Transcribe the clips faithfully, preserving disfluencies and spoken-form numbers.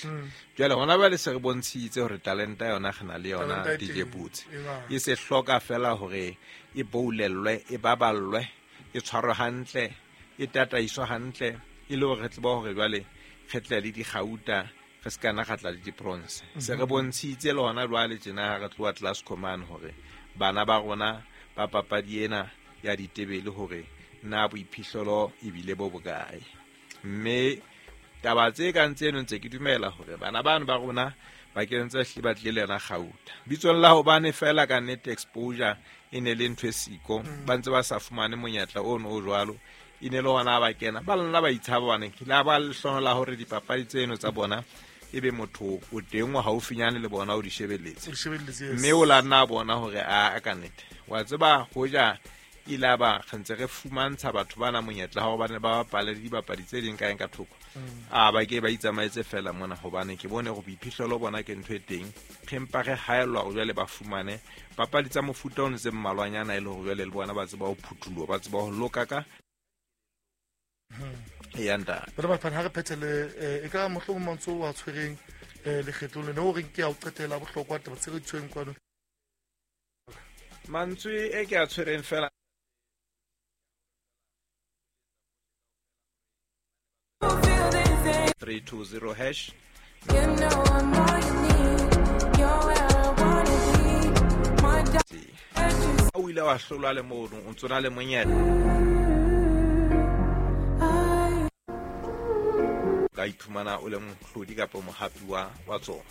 hantle. Jwale hona jwale se re bontshitse hore talenta yona re na le yona Talenta e D J teng, Boots. e ba. E se hloka fela hore e boulellwe, e baballwe, e tshwarwe hantle, e tataiswe hantle, e le hore re tsebe hore jwale re tle le dikgauta, re se kana ra tla le di-bronze. Se re bontshitse le hona jwale tjena ha re tloha Class Command hore bana ba rona ba papadi ena ya ditebele hore na boiphihlelo ebile bo bokae. Mme taba tse kang tseno ntse ke dumela hore bana bano ba rona ba kentse hlile ba tlile le yona kgauta. Bitsong la hobane fela ka nnete exposure e ne le ntho e siko, ba ntse ba sa fumane monyetla ono o jwalo. E ne le hona ba kena, ba lona ba itshaba hobane ke la ba lehlohonolo la hore dipapadi tseno tsa bona ebe motho o teng o haufinyane le bona o di shebelletse. O di shebelletse, yes. Mme o la nna a bona hore a, a ka nnete. Wa tseba hoja ile a ba re ntse re fumantsha batho bana monyetla wa hore ba ne ba bapale le dibapadi tse ding kae ka thoko. Mm. A ba ke ba itsamaetse fela mona hobane ke bone hore boiphihlelo bona ke ntho e teng. Re mpa re haellwa hore jwale ba fumane papadi tsa mofuta ono tse mmalwanyana e le hore jwale le bona ba tseba ho phuthuloha, ba tseba ho loka ka ya ntate. Bana ba ha re phethele, eh, e ka mohlomong mantswe o a tshwereng, eh, lekgetlong lena o reng ke a o qetela bohlokwa taba tse re di tshwereng kwano. Mantswe e ke a tshwereng fela three two zero hash. You know I'm all you need. You're where I wanna be. My dog. O ile wa hlolwa le mono, o ntso na le monyetla. Ka iphumana o le mohlodi kapa mohapi wa, wa tsona.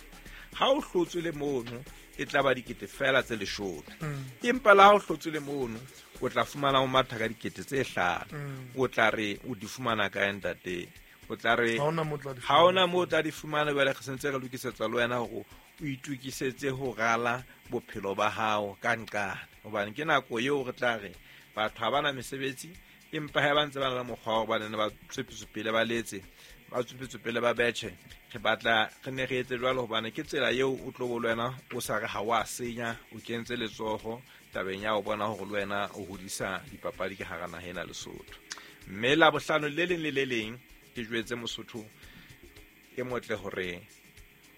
Ha o hlotswe le mono, e tla ba dikete fela tse leshome. Mm. Empa la ha o hlotswe le mono, o tla fumana o matha ka dikete tse hlano. Mm. O tla re o di fumana kae ntate? O tla re Ha hona moo o tla di ha hona fumana. moo o tla di fumana, jwale re sentse re lokisetsa le wena hore o itokisetse ho rala bophelo ba hao ka nqane. Hobane ke nako eo re tla re batho ha bana mesebetsi, empa ha ba ntse ba na le mokgwa wa hore ba nne ba tswepetswe pele ba letse, ba tswepetswe pele ba betjhe. Re batla re ne re etse jwalo hobane ke tsela eo o tlo bo le wena o sa re ha wa senya, o kentse letsoho tabeng ya ho bona hore le wena o hodisa dipapadi ka hara naha ena Lesotho. Mme Labohlano le leng le le leng ke jwetse Mosotho e motle hore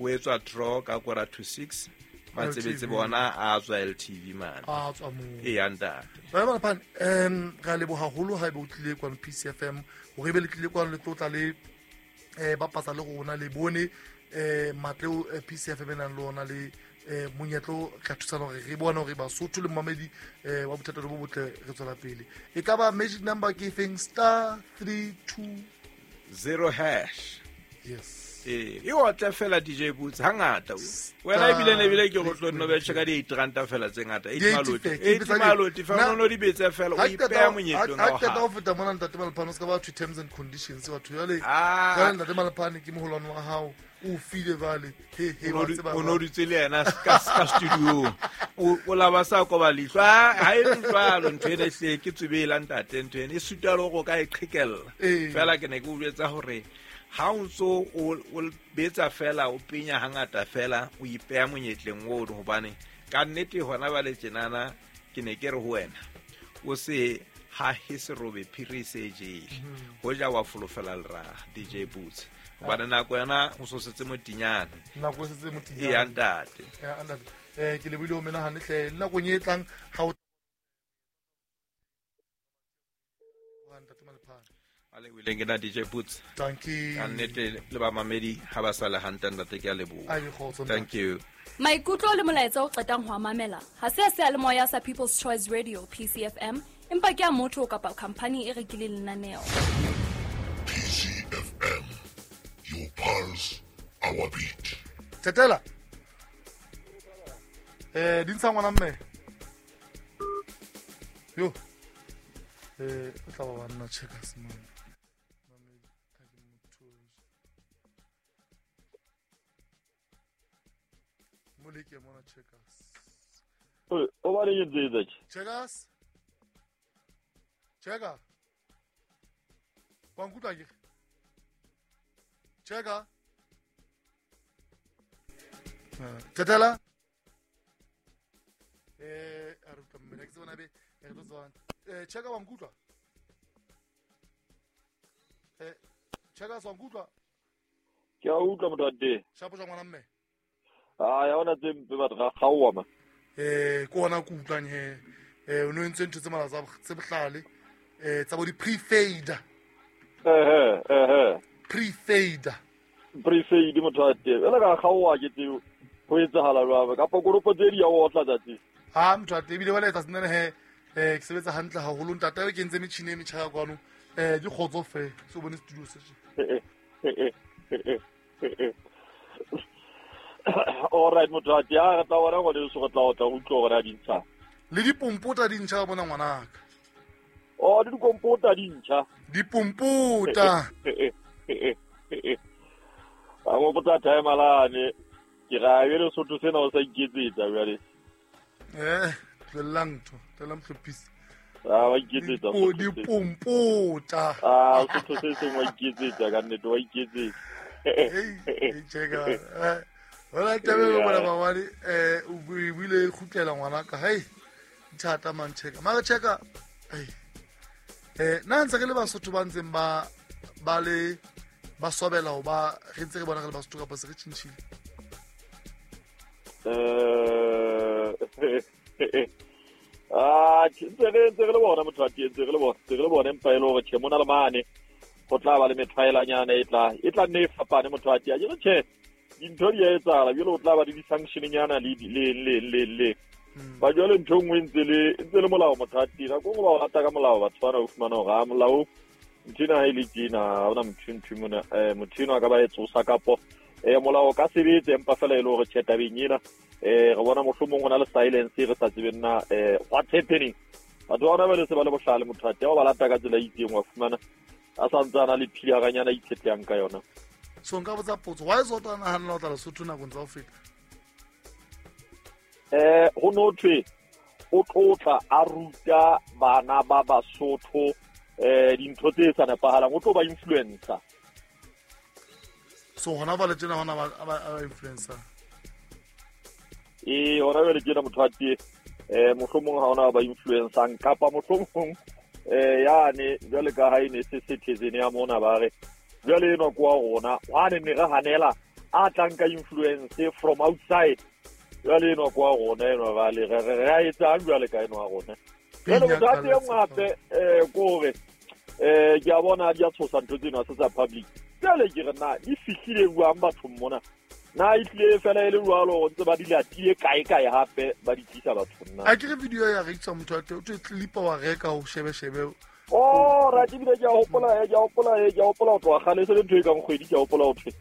o etswa draw ka quarter to six, matsebetsi L T V. bona a tswa L T V mane. A tswa moo. E ya ntate. Ba ba phane, em, re a leboha haholo ha ebe o tlile kwano P C F M, hore ebe le tlile kwano le tlotla le, eh, bapatsa le rona, le bone, eh, matle o, eh, P C F M e nang le ona le, eh, monyetla o ka thusana hore re bone hore Basotho le momamedi, eh, wa bothata bo botle re tswela pele. E ka ba magic number ke efeng? Star three two zero hash. Yes. Eh, e otle fela D J Boots hangata. Wena ebile ne ebile ke go tlo nno betjhe ka di eight ranta fela tse ngata. Eight Di eight maloti. fela, ke Eight bitsa di- maloti, fa Na- o no di betse fela, o Ha ke qeta ipeha ho- monyetleng ha wa ke qeta hao. ho feta mona ntate Malphane, o ska ba thwe terms and conditions, batho jwale. Ah. Jwale ntate Malphane ke moholwane wa hao, o file jwale. He, he, O no wa di- tseba o no jwale. dutse le yena ka, ka studio. O, o la ba sa koba leihlo. Ah, ha e le jwalo ntho ena ehlile ke tswebela ntate, ntho ena e suta le hore o ka e qhekella. Ee. Fela ke ne ke o jwetsa hore ha o ntso o, o betsa fela, o penya hangata fela, o ipeha monyetleng ono, hobane ka nnete hona jwale tjenana ke ne ke re ho wena o se hahe serobe phiri se jele. Mm-hmm. Hoja wa folofela leraha, D J Boots. Hobane nako yona o so setse motinyane. Nako e setse motinyane. E ya ntate. Ya ntate. Eh, ke lebohile ho menahane hle. Le nakong e tlang ha o Ntate Malphane. A le buileng ke nna D J Boots. Thank you. Ka nnete le bamamedi ha ba sa le hantle ntate, ke a leboha. A ke kgotso, ntate. Thank you. Maikutlo le molaetsa o qetang ho a mamela ha se a seyalemoya sa People's Choice Radio P C F M, empa ke a motho kapa khamphani e rekileng lenaneo. P C F M, your pulse, our beat. Tetela. Eh, di ntsha ngwana mme. Yo. Eh, o tla ba banna checkers man. Moleke mona checkers. O, o ba re ke tse tse. Checkers. Checker. Wa nkutlwa ke? Checker. Eh, Tetela. Eh, a re utlwa mme, ke tsebana be, re tlo tswana. Eh, Checker wa nkutlwa? Eh, Checkers wa nkutlwa? Ke a utlwa motho wa teng. Shapo jwa ngwana mme. Ah, ya ona tse mpe batho ga kgaowa ma. Eh, ke ona ke utlwang he. Eh, o no entse ntho tse mala tsa tse bohlale. Eh, tsa bo di pre-fade. Eh eh eh. Pre-fade. Pre-fade motho wa teng. Ela ka kgaowa ke tseo. Ho etsahala jwang kapa koropo tse di ya otla tsatsi. Ha motho wa teng ebile wala etsa senene he. Eh, ke sebetsa hantle haholo ntate o kentse metjhini e metjha kwano. Eh, di kgotso fe. Se o bone studio se tje. All right motho wa teng, a re tla bona ngwane so re tla otla utlwa hore a di ntsha. Le dipompota di ntjha bona ngwanaka. Oh, di dikompota di ntjha. Dipompota. A mo botsa time alane. Ke ra e le sotho sena o sa iketsetsa jwale. Eh, tlolang ntho, tlolang hlophisa. Ah, wa iketsetsa. Dipompota. Ah, sotho se seng wa iketsetsa ka nnete wa iketsetsa. Hey, cheka. Eh, hola tabelo bona babadi eh o buile kgutlela ngwanaka. Hey, thata man cheka. Mara cheka. Hey. Eh, nna ntse re le Basotho ba ntseng ba ba le ba sobela ho ba re ntse re bona re le Basotho kapa se re tjhentjhile. Eh ah, ntse re ntse re le bona motho wa teng, ntse re le bona, ntse re le bona empa e le hore tjhe mona le mane go tla ba le methwaelanyana e tla e tla nne e fapane motho wa teng. Ke tjhe dintho di a etsahala jwale o tla ba le di-sanction-nyana le le le le le ba jwale ntho e nngwe ntse le ntse le molao motho wa teng. Nako e nngwe ba o rata ka molao batho bana o fumana hore ha molao ntho ena ha e le tjena ha hona motho ntho mona eh motho enwa a ka ba e tsosa kapo eh molao ka sebetse empa fela e le hore tjhe tabeng ena eh re bona mohlomong ho na le silence re sa tsebeng na eh what's happening. Batho ba bona ba le se ba le bohlale motho wa teng, ba lata ka tsela e itseng wa fumana a sa ntse a na le philaranyana a itshetlehang ka yona. So nka botsa potso, why is o nahanela ho tla Lesotho nakong tsa ho feta? Eh ho no thwe o tlotla a ruta bana ba Basotho eh dintho tse sa nepahalang, o tlo ba influencer. So hona ba le tjena hona ba ba influencer. Eh hona ba le tjena motho wa teng eh mohlomong ha ona ba influencang kapa mohlomong eh yane jwale ka ha ene se citizen ya mona ba re jwale eno kwa rona wa ne re hanela a tlang ka influence from outside jwale eno kwa rona eno ba le re re a etsang jwale ka eno wa rona. Jwale motho a teng hape eh kore eh ke a bona di a tshosa ntho tsena se tsa public. Jwale ke re na di fihlile jwang bathong mona na e tlile fela e le jwalo go ntse ba di latile kae kae hape ba di tlisa bathong na. A ke re video ya rekisa motho wa teng o tlo clipa wa reka ho shebe shebe. Oh, ra ke bile ke a hopola ke a hopola ke a hopola ho tloha kgale se le ntho e kang kgwedi ke a hopola ho thwe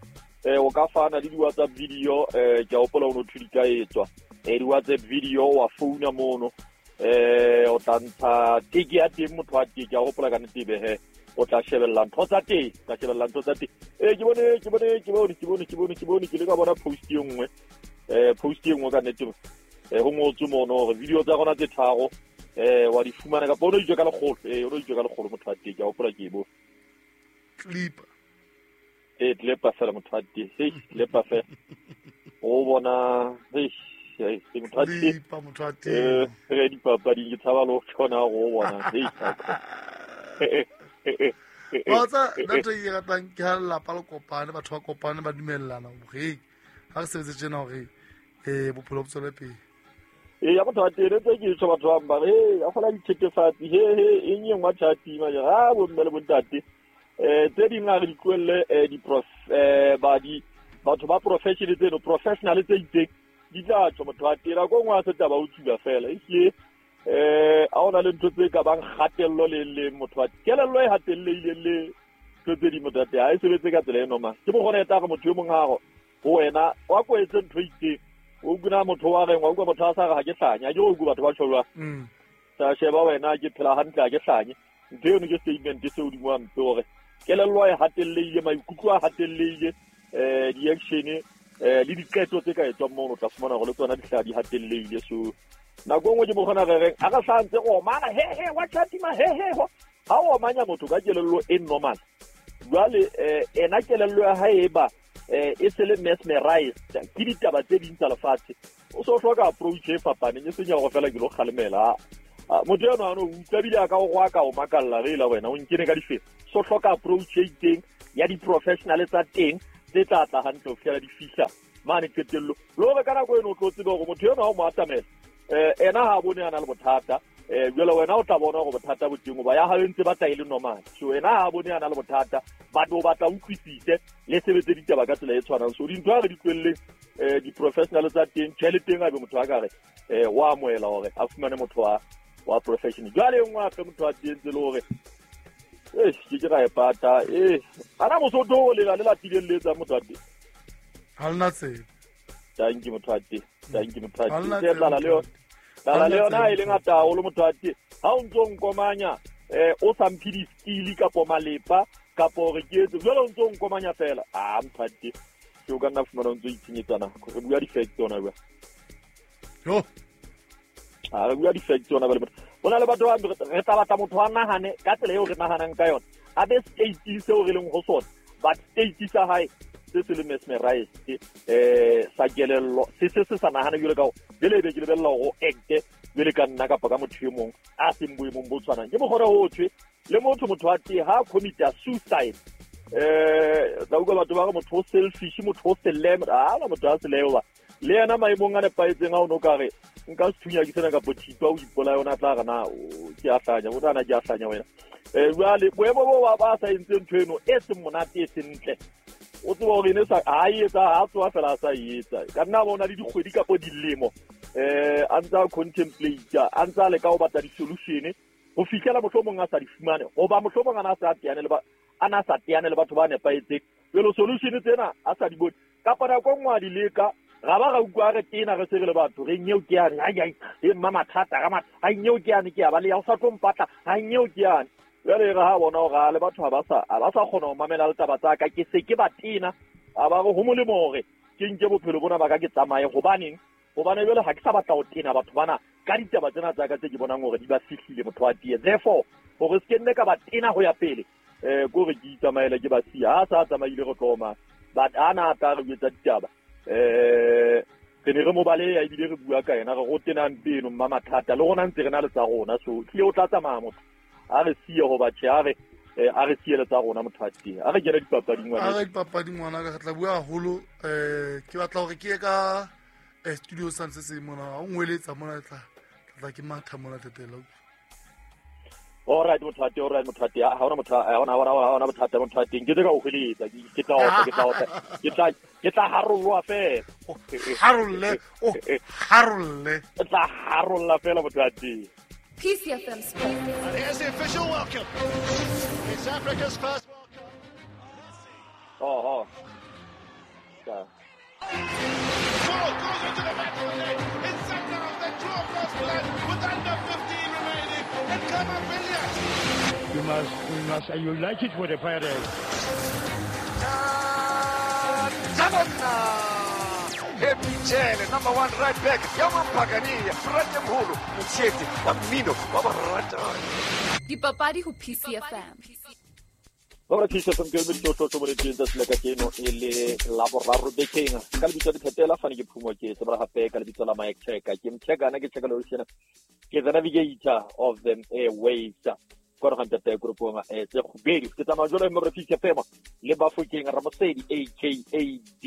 eh o ka fana le di-WhatsApp video eh ke a hopola o no thwe di ka etswa eh di-WhatsApp video wa founa mono eh o tla ntsha teke ya teng motho wa teke ke a hopola ka nnete be he o tla shebella ntho tsa teng tla shebella ntho tsa teng eh ke bone ke bone ke bone ke bone ke bone ke bone ke le ka bona post e nngwe eh post e nngwe ka nnete eh ho ngotswe mono hore video tsa rona tse tharo eh wa di fumana kapa o no itswe ka lekgolo eh o no itswe ka lekgolo motho wa teng ke a hopola ke e bo clip eh clip fela motho wa teng hey clip fela o bona hey hey motho wa teng clip motho wa teng eh re dipapading ke tshaba le ho tshona go bona hey wa tsa nna ntho e ke ratang ke ha lelapa le kopane batho ba kopane ba dumellana hore ha re sebetse tjena hore eh bophelo bo tswele pele. E ya motho wa teng tse ke tjho batho ba bang ba re he a fola dithethefatsi he he eng e nngwe tjhati ma ha bo mme le bontate eh tse ding a re di tlohelle eh di prof eh ba di batho ba professional tseno professional tse itseng di tla tjho motho wa teng ko nngwe a se taba o tsuba fela e hlile eh a ona le ntho tse ka bang kgatello le le motho wa kelello e hatellehileng le ntho tse di motho wa teng ha e sebetse ka tsela e normal ke mo gona e tla re motho yo mong ha ho wena wa ko etse ntho e itseng o kuna motho wa reng wa utlwa motho a sa re ha ke hlanya ke o utlwa batho ba tjho jwang sa sheba wena ke phela hantle ha ke hlanye ntho eno ke statement se hodimo wa mpe hore kelello e hatellehile maikutlo a hatellehile eh di-action eh le diqeto tse ka etswang mono o tla fumana hore le tsona di hla di hatellehile. So nako e nngwe ke mo kgona re reng a re sa ntse go omana he he wa tjhatima he he ho ha o omanya motho ka kelello e normal jwale eh ena kelello ya hae e ba eh e se le mesmerized ke ditaba tse ding tsa lefatshe o so hloka approach e fapaneng e seng ya hore fela ke lo kgalemela motho eno a no utlwa ebile a ka o go ka o makalla re la wena o nkene ka difela so hloka approach e itseng ya di-professional tsa teng tse tla tla hantle ho fihlela di fihla mane qetello le hore ka nako eno o tlo tsebe hore motho enwa ha o mo atamela um ena ha bone a na le bothata um jwale wena o tla bona hore bothata bo teng hoba ya hao e ntse batla e le normal. So ena ha bone a na le bothata but o batla utlwisise le sebetse ditaba ka tsela e tshwanang. So dintho ha re di tlohelleng um di-professional tsa teng tjhe le teng a be motho a ka re um wa amohela hore a fumane motho wa wa profession. Jwale e nngwe hape motho wa teng tse le hore eish ke ke ra e pata eh ana mosotho o lela le latileng le etsang motho wa teng ha lena tsebe. Thank you motho wa teng, thank you motho wa teng. Tse tlala le yona tlala le yona e le ngata haholo motho wa teng. Ha o ntso nkomanya eh o sa mphe di-skill kapo malepa kapo hore ke etse jwale o ntso nkomanya fela ah motho wa teng ke o ka nna fumana o ntso itshenyetsa nako. Re bua di-fact tsona bua yo a re bua di-fact tsona ba le ho na le batho ba re tla batla motho a nahane ka tsela eo re nahanang ka yona a be state seo re leng ho sona but state sa hae se se le mesmerized eh sa kelello se se se sa nahane jwale ka ho jwale ebe ke lebella hore o acte jwale ka nna kapa ka motho e mong a seng boemong bo tshwanang. Ke mokgona ho thwe le motho motho wa teng ha commit-a suicide eh tla utlwa batho ba re motho o selfish motho o seleme a na motho a seleo ba le yena maemong a nepahetseng a o no ka re nka sethunya ke sena kapo thipa o ipolaya ona tla re na ke a hlanya o tla na ke a hlanya wena eh jwale boemo bo ba ba sa entse ntho eno e seng monate e seng ntle o tseba hore ene sa ha e etsa ha tsoa fela a sa e etsa ka nna bona le dikgwedi kapo dilemo eh a ntsa contemplate a ntsa leka ho batla di-solution ho fihlela mohlomong a sa di fumane hoba mohlomong ana a sa teane le ba ana sa teane le batho ba nepahetseng jwale solution tsena a sa di bone kapa nako e nngwe a di leka ra ba ra utlwa re tena re se re le batho re nyeo ke yane ai ai e mma mathata ra matha ai nyeo ke yane ke ya ba le ya o sa tlo mpatla ai nyeo ke yane jwale re ha bona hore le batho ha ba sa ha ba sa kgona ho mamela ditaba tsa ka ke se ke ba tena a ba re ho molemo hore ke nke bophelo bona ba ka ke tsamaye hobaneng hobane jwale ha ke sa batla ho tena batho bana ka ditaba tsena tsa ka tse ke bonang hore di ba fihlile motho wa tie therefore hore se ke nne ka ba tena ho ya pele eh ko re ke itsamaele ke ba siya ha sa tsamaile re tloma but ana a tla re etsa ditaba eh re ne re mo baleha ebile re bua ka yena re go tenang peno mma mathata le rona ntse re na le tsa rona so tlile o tla tsamaya motho a re siye hoba tjhe a re a re siye le tsa rona motho wa teng a re kene dipapading ngwana a re dipapading ngwana ka re tla bua haholo eh ke batla hore ke ye ka studio sa se se mona o ngweletsa mona tla tla ke matha mona tetela. All right motho wa teng, all right motho wa teng ha hona motho ha hona ha hona bothata motho wa teng ke tse ka o hweletsa ke tla otla ke tla otla ke tla ke tla harollwa fela harolle o harolle ke tla harolla fela motho wa teng. P C F M Sports. And here's the official welcome. It's Africa's first World Cup. Oh, oh. Yeah. Ball goes into the back of the net. It's Sundowns that draw first blood with under fifteen remaining. And Kamavillas. You must, we must, and you like it with a pirate. Epitshele number one right back ya Mampakania Frate Mholo Motshete wa mmino wa boratani Dipapadi ho P C F M. Ba P C F M ke motho tlo boletseng tsatsi la kajeno e le la boraro bekeng ka lebitso la Phetela fane ke phumo ke tsebra hape ka lebitso la Mike Checker ke mcheka na ke cheka lo tjena ke the navigator of them airwaves kwa re gantata groupong eh tse kgubedi ke tsamaya jalo mo re P C F M le Bafokeng Ramosedi aka D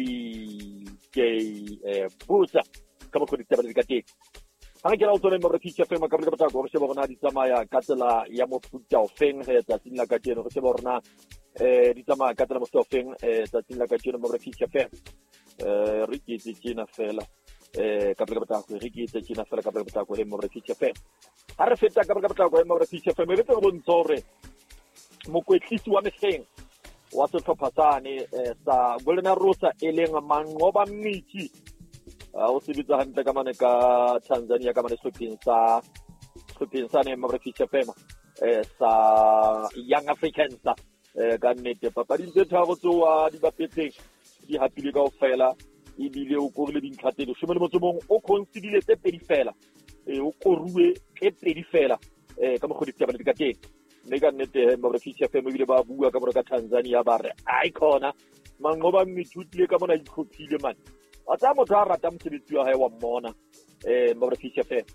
J Busa ka mokgwa ditaba di ka teng ha re kena o tsone mo re P C F M ka boleka botako re sheba rona di tsamaya ka tsela ya mofuta ofeng he tsatsing la kajeno re sheba rona eh di tsamaya ka tsela mofuta ofeng eh tsatsing la kajeno mo re P C F M eh re ke tse tjena fela eh ka boleka botako re ke tse tjena fela ka boleka botako he mo re P C F M ha re feta ka boleka botako he mo re P C F M re tse re bontsha hore mokwetlisi wa mehleng wa sehlopha sane sa Golden Arrows e leng Manqoba Mngqithi o sebetsa hantle ka mane ka Tanzania ka mane sehlopheng sa sehlopheng sane P C F M eh sa Young Africans eh ka nnete papading tse tharo tseo a di bapetseng di hapile kaofela ebile o korile dintlha tse leshome le motso mong o concedile tse pedi fela eh o koruwe tse pedi fela eh ka mokgwa ditaba di ka teng mme ka nnete P C F M ebile ba bua ka mona ka Tanzania ba re ai khona Manqoba Mngqithi o tlile ka mona itlhophile mane a tsaya motho a rata mosebetsi wa hae wa mmona eh P C F M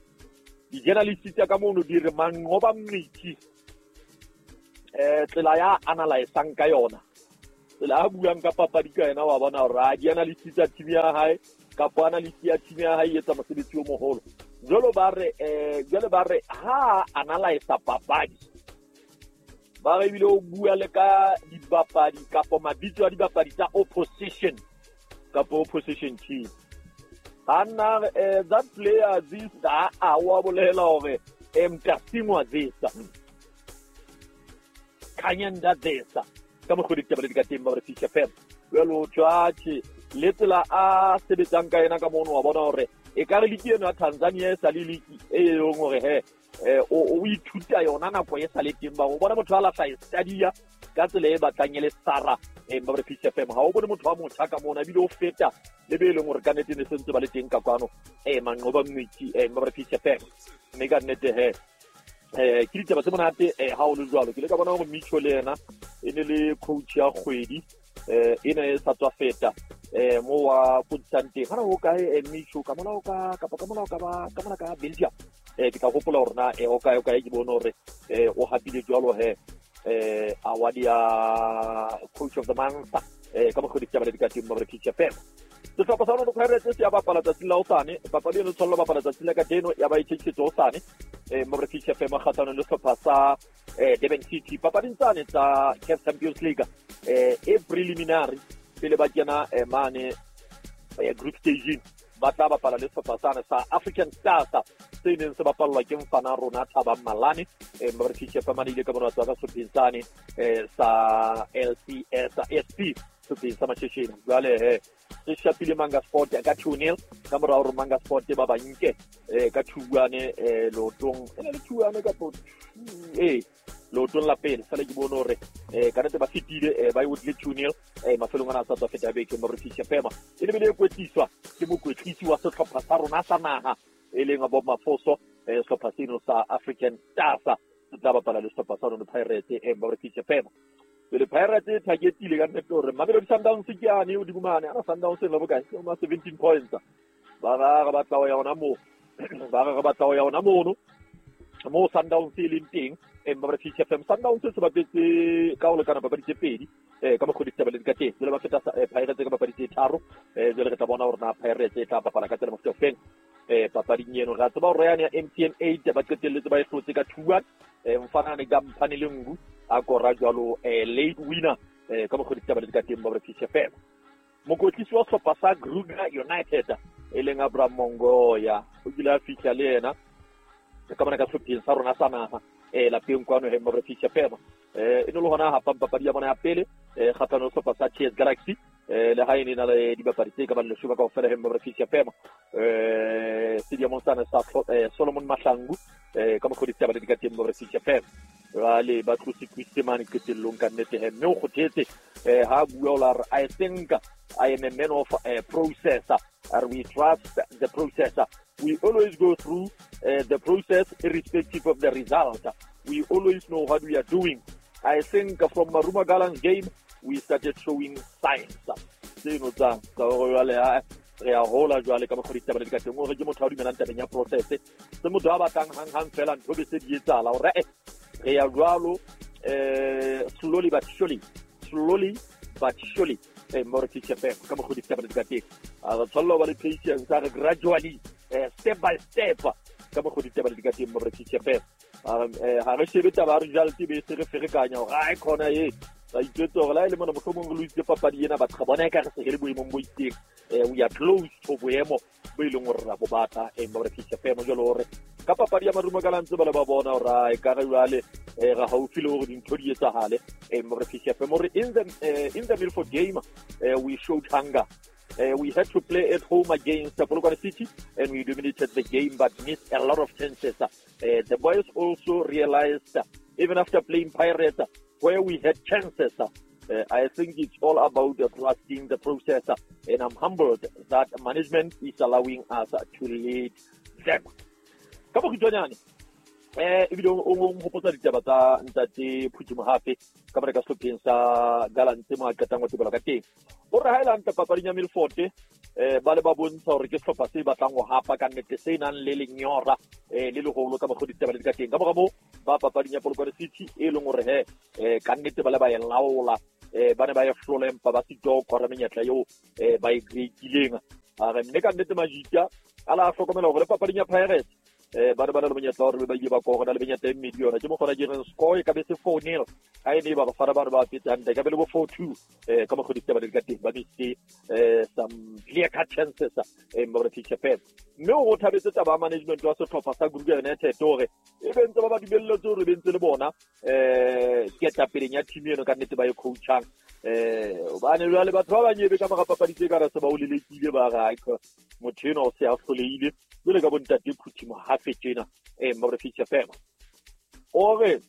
di-journalist tsa ka mono di re Manqoba Mngqithi eh tsela ya analysang ka yona Tsela a buang ka papadi ka yena wa bona hore a di-analyst tsa team ya hae kapa analyst ya team ya hae e etsa mosebetsi o moholo. Jwalo ba re eh jwale ba re ha analyze papadi ba re ebile o bua le ka dibapadi kapa mabitso a dibapadi tsa opposition kapa opposition team. Anna eh, that player this a a wa bolela hore Mtasingwa this Kanyanda this ka mokgwa ditaba le di ka teng ba re P C F M. Jwale o tjhatjhe le tsela a sebetsang ka yena ka mono wa bona hore e ka re liki eno ya Tanzania e sa le liki e leng hore he o o ithuta yona nako e sa le teng ba o bona motho a lahla e stadia ka tsela e batlang e le sara e ba re P C F M. Ha o bone motho wa motjha ka mona ebile o feta le be leng hore ka nnete ne sentse ba le teng ka kwano e Manqoba Mngqithi e ba re P C F M. Mme ka nnete he eh ke ditaba tse monate eh ha o le jwalo ke le ka bona hore Micho le yena e ne le coach ya kgwedi eh ena e sa tswa feta eh mo wa putsang teng hana o kae Micho ka mona o ka kapa ka mona o ka ba ka mona ka Belgium eh ke tla hopola hore na eh o kae o kae ke bone hore eh o hapile jwalo he eh award ya coach of the month eh ka mokgwa ditaba le di ka teng ba re P C F M. Sehlopha sa Orlando Pirates se ya bapala tsatsing la hosane papadi eno tshwanela bapala tsatsing la kajeno ya ba e tjheketse hosane eh mo re P C F M kgahlano le sehlopha sa eh Durban City papading tsane tsa C A F Champions League eh e preliminary pele ba kena eh, mane eh, group stage ba tla bapala le sehlopha sane sa African Stars se neng se bapallwa ke mfana rona Thabang Malane eh mo re P C F M ile ka bona tswa ka sehlopheng sane eh sa L C S S P sehlopheng sa Mashesheni. Jwale he se shapile Manga Sport ka two nil ka mora hore Manga Sport ba ba nke eh ka two one eh lotong e le two one ka eh lotong la pele sale ke bone hore eh ka nnete ba fitile eh ba e otlile two nil eh mafelong ana sa tswa feta beke mo re P C F M e le bile e kwetliswa ke mokwetlisi wa sehlopha sa rona sa naha e leng Bob Mafoso eh sehlopha seno sa African Stars se tla bapala le sehlopha sa Orlando Pirates eh mo re P C F M. Pele Pirates targetile ka nnete hore Mamelodi Sundowns ke yane o dimane ana Sundowns e ba bokae ke ma seventeen points ba ra re batla ho ya hona moo ba re re batla ho ya hona mono mo Sundowns e leng teng e ba re P C F M. Sundowns se bapetse ka ho lekana papadi tse pedi eh ka mokgwa ditaba le di ka teng jwale ba feta Pirates ka papadi tse tharo eh jwale re tla bona hore na Pirates e tla bapala ka tsela mofuta ofeng eh papading eno. Re tseba hore yane ya M T N eight ba qetelletse ba e hlotse ka two one eh mfana ne ka mphane le ngu a kora jwalo eh late winner eh ka mokgwa ditaba le di ka teng ba re P C F M. Mokwetlisi wa sehlopha sa Kruger United e leng Abraham Mongoya o kile a fihla le yena ka mona ka sehlopheng sa rona sa naha eh lapeng kwano he mo re P C F M eh e ne le hona hapang papadi ya bona ya pele eh kgahlano le sehlopha sa T S Galaxy eh le ha e ne na le dibapadi tse ka bang leshome kaofela he mo re P C F M eh stadium sana sa Solomon Mahlangu eh ka mokgwa ditaba le di ka teng mo re P C F M. Jwale ba tlose kwiste mane qetellong ka nnete he mme o kgothetse eh ha bua o la re I think I am a man of a processor and we trust the processor. We always go through uh, the process irrespective of the result. We always know what we are doing. I think from Maruma Gallant's game, we started showing signs. Seno tsa tsa hore jwale ha re a hola jwale ka mokgwa ditaba le di ka teng hore ke motho a dumelang tabeng ya process. Se motho a batlang hang hang fela ntho be se di etsahala hore eh re ya jwalo eh slowly but surely, slowly but surely eh mo re P C F M ka mokgwa ditaba le di ka teng. A re tshwanela ho ba le patience, a re gradually eh step by step ka mokgwa ditaba le di ka teng mo re P C F M. Ha re shebe taba re result be se re ferekanya hore ai khona e ba itwetse hore la e le mona mohlomong re loisitse papadi ena batho ga bona e ka re se re le boemong bo itseng eh we are close to boemo bo e leng hore ra bo batla eh mo re P C F M. Jwalo hore ka papadi ya Marumo Gallants ba le ba bona hore ai ka re jwale eh ra haufi le hore dintho di etsahale eh mo re P C F M. Hore in the in the Milford game we showed hunger. Uh, we had to play at home against Polokwane City and we dominated the game but missed a lot of chances. Uh, the boys also realized, uh, even after playing Pirates, uh, where we had chances, uh, I think it's all about uh, trusting the process, uh, and I'm humbled that management is allowing us uh, to lead them. Ka bokgutshwanyane eh ebile o nghopotsa ditaba tsa ntate Phuthi Mohafe ka mora ka sehlopheng sa Gallants mo a qetang ho tebelwa ka teng. O re ha e le hantle papading ya Milford eh ba le ba bontsha hore ke sehlopha se batlang ho hapa ka nnete se nang le lenyora eh le leholo ka mokgwa ditaba le di ka teng. Ka mora moo ba papading ya Polokwane City e leng hore he eh ka nnete ba le ba e laola eh ba ne ba e hlola empa ba sitwa ho kora menyetla eo eh ba e creatileng. A re mme ka nnete Majita a la hlokomela hore le papading ya Pirates eh ba ne ba na le monyetla hore ba ile ba kora le menyetla e mmedi yona. Ke mokgona ke reng score e ka be se four nil ha e ne ba bafana ba re ba fetse hantle, ka be le bo four two eh ka mokgwa ditaba di ka teng, ba missed eh some clear cut chances eh ba re P C F M. Mme o thabetse taba ya management wa sehlopha sa Kruger United hore e be ntse ba ba dumelletse hore be ntse le bona eh ketapeleng ya team eno ka nnete ba e coachang eh hobane jwale batho ba banyebe ka mora papadi tse ka re se ba o lelekile, ba re ai motho eno o se a hlolehile jwale ka bontate Phuthi Mohafe tjena eh ba re P C F M. O re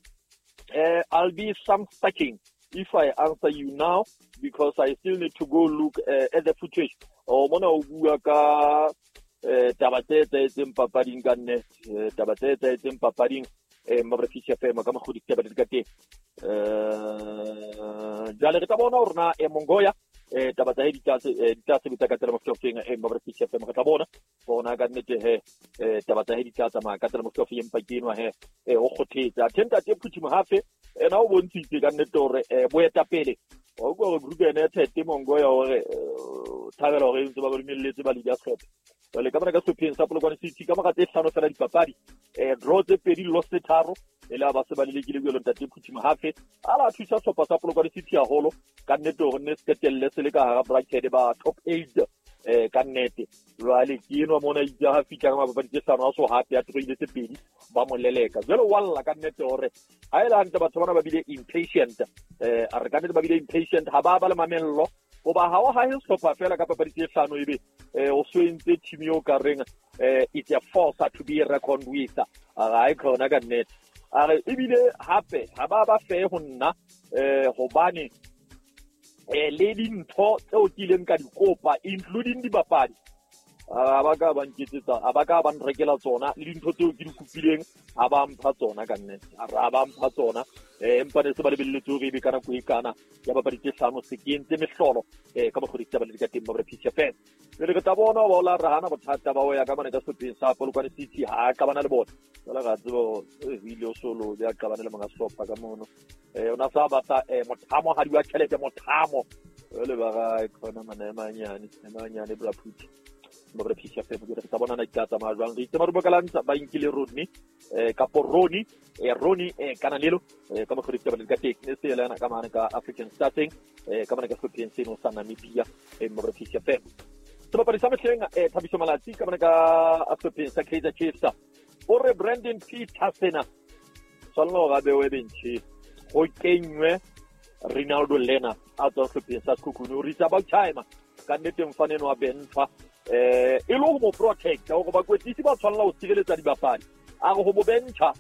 eh I'll be some stacking if I answer you now because I still need to go look uh, at the footage. O mona o bua ka eh taba tse etsahetseng papading ka nne, taba tse etsahetseng papading eh ba re P C F M ka mokgwa ditaba di ka teng. Eh jwale re tla bona hore na e Mongoya eh taba tsa di tla di tla sebetsa ka tsela mofuta eh ba re P C F M. Re tla bona bona ka nnete he eh taba tsa di tla tsamaya ka tsela mofuta empa ke enwa he eh o kgothetse a tenta te Phuthi Mohafe ena o bontshitse ka nnete hore boetapele wa utlwa hore Kruger United Mongoya hore thabela hore ntse ba ba dumelletse ba league ya sehlopha. Jwale ka mona ka sehlopheng sa Polokwane City ka mora tse hlano fela dipapadi eh draw tse pedi, loss tse tharo, e le ba se ba lelekile jwalo ntate Phuthi Mohafe a la thusa sehlopha sa Polokwane City haholo ka nnete hore nne se qetelle se le ka hara bracket ba top eight eh ka nnete. Jwale ke enwa mona itse ha fihla ka mapapadi tse hlano a so hape a troile tse pedi ba mo leleka. Jwale wa lla ka nnete hore ha ele hantle batho bana ba bile impatient eh a re ka nnete ba bile impatient, ha ba ba le mamello hoba ha o hahe sehlopha fela ka papadi tse hlano ebe eh o so entse team eo ka reng eh it's a force to be reckoned with. A re ai khona ka nnete, a re ebile hape ha ba ba fe ho nna eh hobane eh le dintho tseo ke ileng ka di kopa including dibapadi a ba ka ba nketsetsa, a ba ka ba nrekela tsona le dintho tseo ke di kopileng ha ba mpha tsona ka nnete. A re a ba mpha tsona eh empa ne se ba lebelletse hore ebe ka nako e kana ya papadi tse hlano se ke entse mehlolo eh ka mokgwa ditaba le di ka teng ba re P C F M. Jwale re tla bona ba o la re hana bothata ba ho ya ka mane ka sehlopheng sa Polokwane City ha a qabana le bona. Jwale ra tseba e ile o solo ya qabana le monga sehlopha ka mono eh ona sa batla eh mothamo ha di wa tjhelete mothamo jwale ba ra khona mana e manyane e manyane bra Phuthi ba re P C F M. Re tla bona na di tla tsamaya jwang. Re itse Marumo Gallants ba nkile Rodney eh kapo Roni eh Roni eh Kananelo eh ka mokgwa ditaba di ka teng ne se yena ka mane ka African Starting eh ka mane ka sehlopheng seno sa Namibia eh ba re P C F M. Sebapadi sa mehleng eh Thabiso Malatsi ka mane ka sehlopheng sa Kaizer Chiefs o re Brandon Petersen tshwanela hore a bewe bench ho kenywe Ronaldo Lena a tswang sehlopheng sa Sekhukhune. O re it's about time ka nnete mfana eno wa bentsha eh e le ho mo protect hore bakwetlisi ba tshwanela ho sireletsa dibapadi. A re ho mo bentsha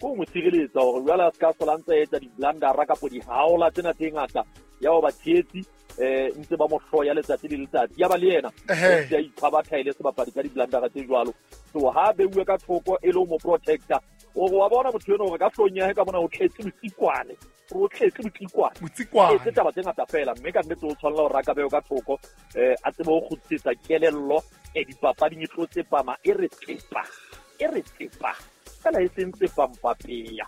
ko mo sireletsa hore jwale a se ka sola ntse a etsa di-blundera kapo dihaola tsena tse ngata ya ho ba tshehetsi eh ntse ba mo hloya letsatsi le letsatsi ya ba le yena ntse a iphabatha e le sebapadi ka di-blundera tse jwalo. So ha beuwe ka thoko e le ho mo protecta o re wa bona motho eno hore ka hloohong ya hae ka mona o tletse botsikwane, o tletse botsikwane Botsikwane. Etse taba tse ngata fela mme ka nnete o tshwanela hore a ka bewe ka thoko eh a tsebe ho kgutlisetsa kelello e dipapading e tlo tsepama e re tsepa e re tsepa fela e seng tsepampapeya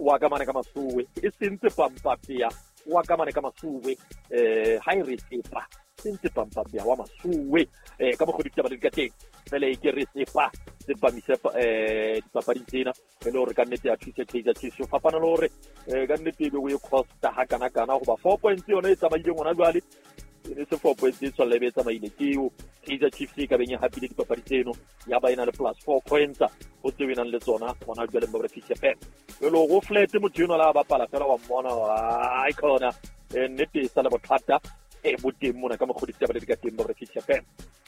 wa ka mane ka masuwe e seng tsepampapeya wa ka mane ka masuwe eh ha e re tsepa seng tsepampapeya wa masuwe eh ka mokgwa ditaba di ka teng fela e ke re tsepa tsepamise eh dipapading tsena e le hore ka nnete ya thusa Kaizer Chiefs ho fapana le hore eh ka nnete ebe o e costa ha kana kana hoba four points yona e tsamaileng hona jwale e ne se four points e tshwanela e be e tsamaile ke eo Kaizer Chiefs e ka beng e hapile dipapadi tseno ya ba e na le plus four points ho tseo e nang le tsona hona jwale ba re P C F M. Jwale hore o flat motho enwa la bapala fela wa mmona ai khona eh nnete e sa le bothata e bo teng mona ka mokgwa ditaba di ka teng ba re P C F M.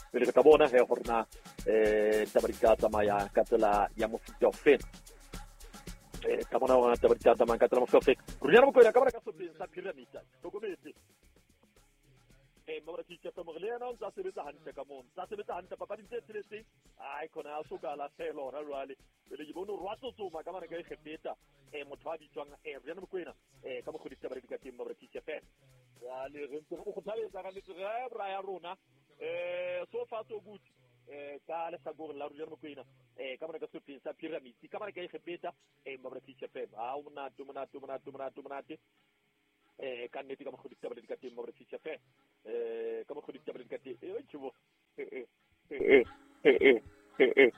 Pele re tla bona he hore na eh taba di ka tsamaya ka tsela ya mofuta ofe eh ka bona hore taba di ka tsamaya ka tsela mofuta ofe. Ruri Mokoena ka bona ka sehlopheng sa Pyramid hlokometse eh ba re P C F M re le yena o ntse a sebetsa hantle ka mono, ntse a sebetsa hantle papading tse tsheletseng ai khona a soka a lahlehelwa hona jwale. Pele ke bone hore wa tsotsoma ka mane ka Egepeta eh motho a bitswang eh Ruri Mokoena eh ka mokgwa ditaba di ka teng ba re P C F M. Jwale re ntse re mo kgothaletsa ka nnete re bra ya rona eh so far so good eh ka lehlakoreng la Ruri Mokoena eh ka mane ka sehlopheng sa Pyramid ka mane ka Egepeta eh ba re P C F M. Ha o monate o monate o monate o monate o monate. Eh ka nnete ka mokgwa ditaba le ka teng mo re fihla fe. Eh ka mokgwa ditaba le ka teng. Eh tjho. Eh eh eh eh.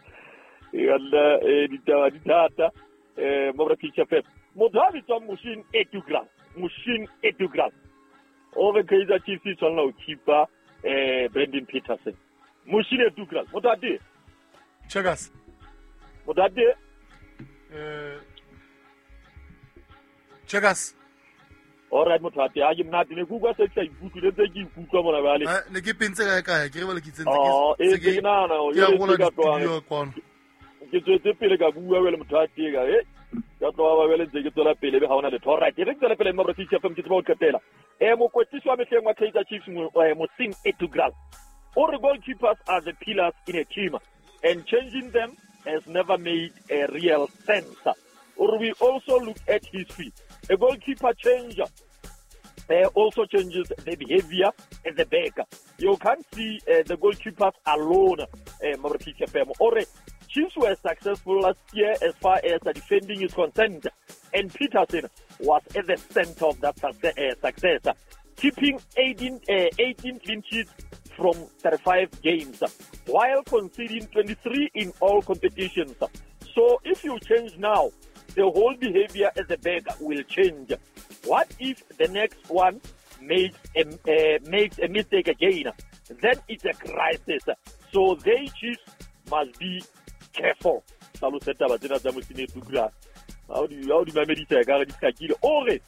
Yalla eh ditaba di thata. Eh mo re fihla fe. Motho a bitswang Moshin Etugra. Moshin Etugra. O re Kaizer Chiefs e tshwanela ho keeper eh Brandon Petersen. Moshin Etugra. Motho a teng. Checkers. Motho a teng. Eh Checkers. All right, motho a teng. Ha ke monate ne ke utlwa se ke sa ikutlwe le ntse ke ikutlwa mona jwale. Eh ne ke pentse kae kae ke re bale ke tsentse Oh, ke eh ke nahana hore ke a jwale rola se ka tlohang. di-studio kwano. Ke tswetse pele ka bua jwale motho a teng ka eh ka tloha ba jwale ntse ke tswela pele be ha hona letho. All right, e re ke tswele pele mo re F M ke tseba ho qetela. Eh mokwetlisi wa mehleng wa Kaizer Chiefs mo eh, Mohsin Ertugral. O re goalkeepers are the pillars in a team and changing them has never made a real sense. Or we also look at history. A goalkeeper change uh, also changes the behavior at the back. You can't see uh, the goalkeepers alone. Uh, Or Chiefs were successful last year as far as the defending is concerned, and Petersen was at the center of that success, uh, success keeping eighteen, uh, eighteen clean sheets from thirty-five games, while conceding twenty-three in all competitions. So if you change now, the whole behavior at the back will change. What if the next one makes a, uh, makes a mistake again? Then it's a crisis. So they Chiefs must be careful. Hlalosa taba tsena tsa Mosine Tukula. Ha o di ha o di mamedisa ka re di hlakile. O re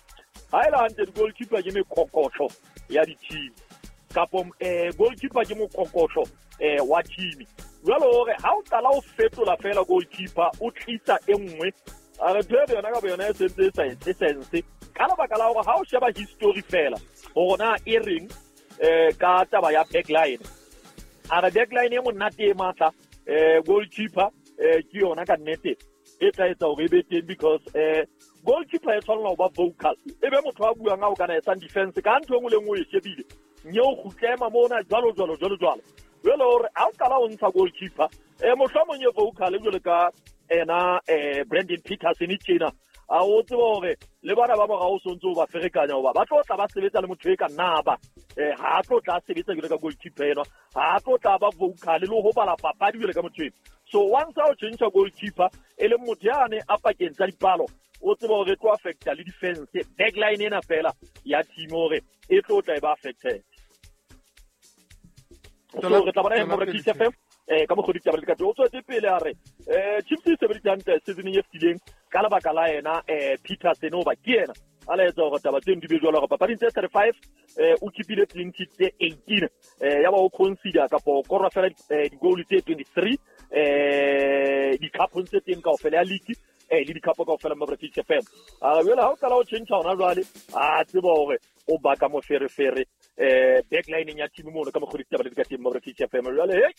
ha e le hantle di-goalkeeper ke mekokotlo ya di-team. Kapo eh goalkeeper ke mokokotlo eh wa team. Jwale hore ha o qala o fetola fela goalkeeper o tlisa e nngwe a re ntho yona ka boyona e sentse e sa etse sense ka lebaka la hore ha o sheba history fela hore na e reng eh ka taba ya backline. A re backline e monate e matla eh goalkeeper eh ke yona ka nnete e tla etsa hore e be teng because eh goalkeeper e tshwanela ho ba vocal e be motho a buang a o kana etsang defense ka ntho e nngwe le nngwe e shebile nye o kgutlema mona jwalo jwalo jwalo jwalo. Jwale hore ha o qala o ntsha goalkeeper eh mohlomong e vocal jwalo ka ena eh Brandon Petersen tjena a o tseba hore le bana ba morao o sontse o ba ferekanya hoba ba tlo tla ba sebetsa le motho e ka nna ba eh ha tlo tla sebetsa jwalo ka goalkeeper ena ha tlo tla ba vocal le ho bala papadi jwalo ka motho ena. So once o change goalkeeper e le motho yane a pakeng tsa dipalo o tseba hore tlo affecta le defense backline ena fela ya team hore e tlo tla e ba affected. So re tla bona he mo re F M eh ka mokgwa ditaba le ka o tswetse pele a re eh Chiefs e sebeditse hantle season e fetileng ka lebaka la yena eh Petersen o ba ke yena a laetsa hore taba tseno di be jwalo hore papading tse thirty-five eh o keepile clean sheet tse eighteen eh ya ba o consider kapa o kora fela di-goal tse twenty-three eh di-cup tse teng kaofela ya league eh le di-cup kaofela mo British F M. A jwale ha o qala o change hona jwale a tseba hore o baka moferefere eh backline ya team mono ka mokgwa ditaba le di ka teng mo British F M. Jwale hey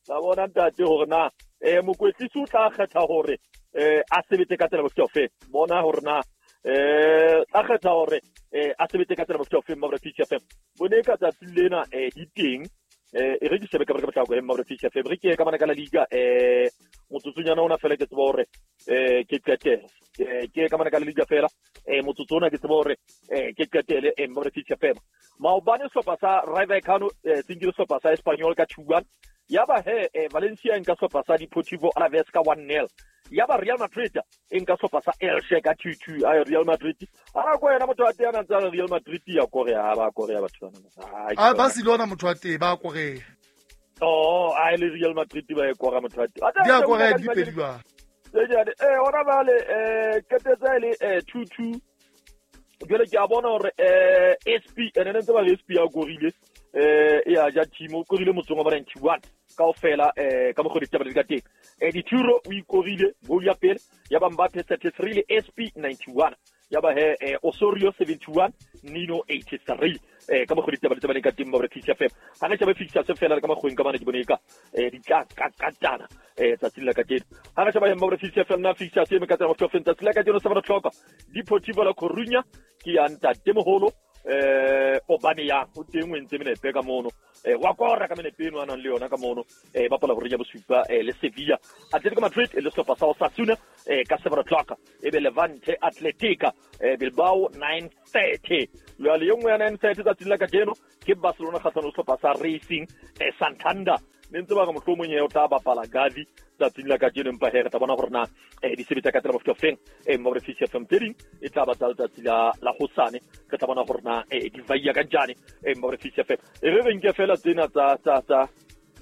la bona ntate hore na eh mokwetlisi o tla kgetha hore eh a sebetse ka tsela mofuta ofe bona hore na eh tla kgetha hore eh a sebetse ka tsela mofuta ofe mo British F M. Bone ka tsatsi lena eh di teng eh e re ke shebe ka ka potlako mo British F M re ke ka bana ka la liga eh motsotsonyana ona fela ke tseba hore eh ke qetele eh ke ka bana ka la liga fela eh motsotso ona ke tseba hore eh ke qetele eh mo British F M. Maobane sehlopha sa Rayo Vallecano eh se nkile sehlopha sa Espanyol ka two one. Ya ba he eh, Valencia e nka sehlopha sa Deportivo Alaves ka one nil. Ya ba Real Madrid e nka sehlopha sa Elche ka two two. Ay Real Madrid a ko yena motho a teng a ntse Real Madrid ya Korea ba Korea batho bana. A Barcelona motho a teng ba Korea. Oh, ai le Real Madrid ba e kora motho a teng. Di a Korea di pedi ba. Eh hona bale eh qetetse le eh two two. Jwale ke a bona hore eh S P ene ntse ba S P ya korile eh ya ja team o korile motsong wa ninety-one kaofela eh ka mokgwa ditaba di ka teng. Eh Dituro o ikorile goal ya pele ya ba Mbappe thirty-three le S P ninety-one ya ba he eh, Osorio seventy-one Nino eighty-three eh ka mokgwa ditaba di tsabaneng ka teng mo British F M. Ha re shebe fixture se fela ka makgweng ka bana ke bone ka eh di tla ka katana eh tsatsing la kajeno. Ha re sheba mo British F M na fixture se me ka tsela mo tsatsi la kajeno seven o'clock Deportivo La Coruña ke ya ntate moholo eh Aubameyang o teng o entse menepe ka mono eh wa kora ka menepe eno a nang le yona ka mono eh bapala hore ya bosupa eh le Sevilla. Atletico Madrid le sehlopha sa Osasuna eh ka seven o'clock, ebe Levante Atletica eh Bilbao nine thirty. Jwale e nngwe ya nine thirty tsatsing la kajeno ke Barcelona kgahlano le sehlopha sa Racing eh Santander. Ne ntse ba re mohlomong e o tla bapala Gavi tsatsing la kajeno, empa he re tla bona hore na eh di sebetsa ka tsela mofuta ofeng. Eh mo re F M tse ding e tla ba tsa letsatsi la la hosane, re tla bona hore na eh di vaiya ka njane. Eh mo re F M e re re nke fela tsena tsa tsa tsa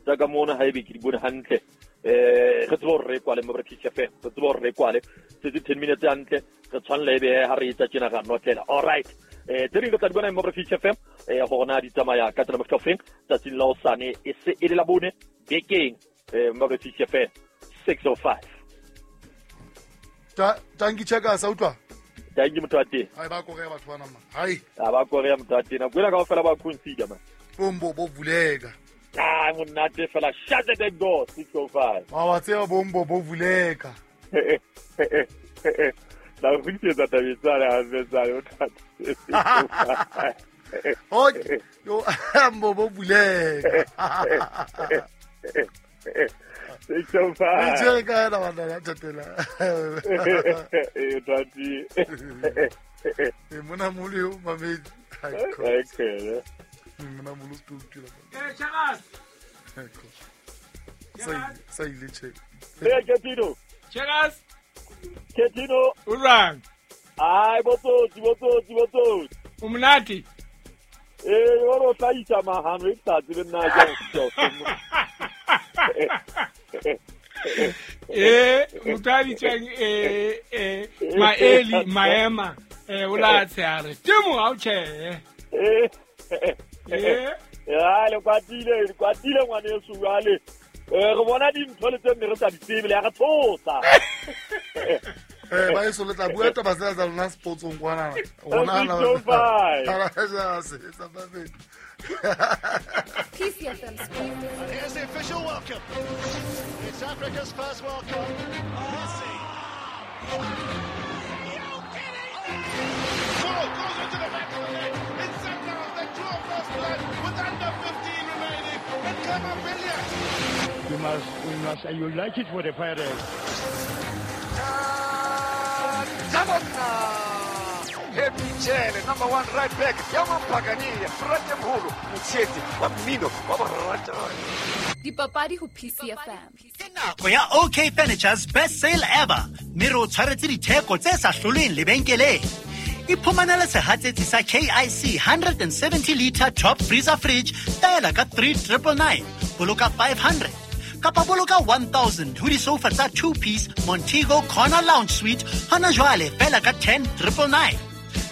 tsa ka mona ha ebe ke di bone hantle. Eh re tsebe hore re kwale mo re F M, re tsebe hore re kwale setse ten minutes hantle, re tshwanela ebe ha re etsa tjena ra notlela. All right, eh tse ding re tla di bona mo re F M eh hore na di tsamaya ka tsela mofuta ofeng tsatsing la hosane e se e le la bone bekeng. Eh mo re F M six oh five. Ta tanki cheka sa utlwa. Tanki motho wa teng. Hai ba korea batho bana ma. Hai. A ba korea motho wa teng. Nako ena kaofela ba consider man. Bombo bo vuleka. Ah monate fela, shut the back door six oh five. Wa wa tseba bombo bo vuleka. La go tsa tabetsana ha tsana o thata. Okay, yo mbo bo vuleka. six oh five. Ke ka la bana la tatela. Eh tati. E mona molo yo mamedi. Okay. Mona molo stu tula. Eh Chagas. Sa sa ile che. Eh Ketino. Chagas. Ketino. Urang. Ai botsotsi botsotsi botsotsi. O monate. Eh o ro tlaisa mahano e tla tsebe nna ke go. Eh motho a bitswang eh eh Maeli Maema eh o la tsare temo ha o tjhe. Eh eh ya le kwatile le kwatile ngwaneso jwale. Eh re bona dintho le tse mme re sa di tsebe le ya re tshosa. Eh ba eso le tla bua taba tsena tsa lona sportsong kwana. Rona na. P C F M Sports. Here's the official welcome. It's Africa's first World Cup. Messi. Ball goes into the back of the net. It's Sundowns that draw first blood with under fifteen remaining. And Kamabilia. You must, you must, you like it for the Pirates. Happy Jele, number one right back. Yamampagania, Bratemholo, Motsheti, wa mmino wa borata. Dipapadi ho P C F M. Ke nako ya OK Furniture's best sale ever. Mme re o tshwaretse ditheko tse sa hloleng lebenkeleng. Iphumanele sehatsetsi sa K I C one seventy liter top freezer fridge fela ka three triple nine. Boloka five hundred. Kapa boloka one thousand ho disofa tsa two piece Montego Corner Lounge Suite hona jwale fela ka ten triple nine.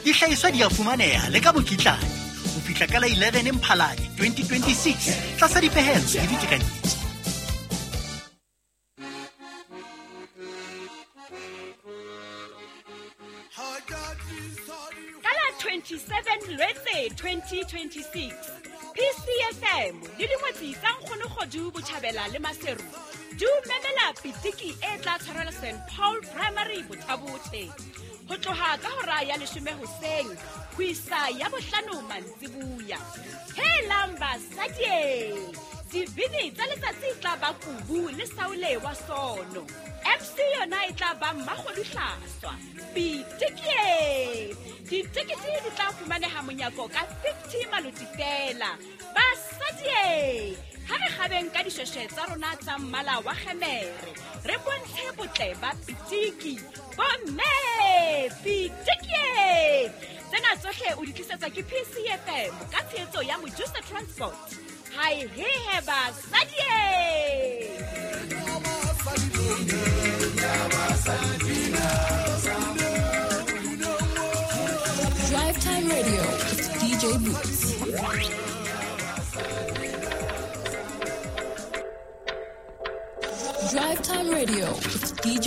Dihlahiswa di a fumaneha le ka mokitlane ho fihla ka la eleven Mphalane twenty twenty-six tlasa dipehelo le ditekanyetso. Ka la twenty-seven Lwetse twenty twenty-six P C F M le dingwetsi tsa Nkgonokgodu Botjhabela le Maseru di o memela pitiki e tla tshwarelwa Saint Paul Primary Bothabothe ho tloha ka hora ya leshome hoseng ho isa ya bohlano mantsibuya. Helang basadi, dibini tsa letsatsi e tla ba Kubu le Saule wa Sono. M C yona e tla ba Mmakgodu Hlaswa. Pitiki! Ditekete di tla fumaneha monyako ka fifty maloti fela. Basadi, ha re kgabeng ka dishweshwe tsa rona tsa mmala wa kgemere, re bontshe botle ba pitiki. Bomme, pitiki! Tsena tsohle o di tlisetsa ke P C F M ka tshehetso ya Mojusa Transport. Hai hehe basadi! Drive Time Radio with D J Boots. Drive Time Radio with D J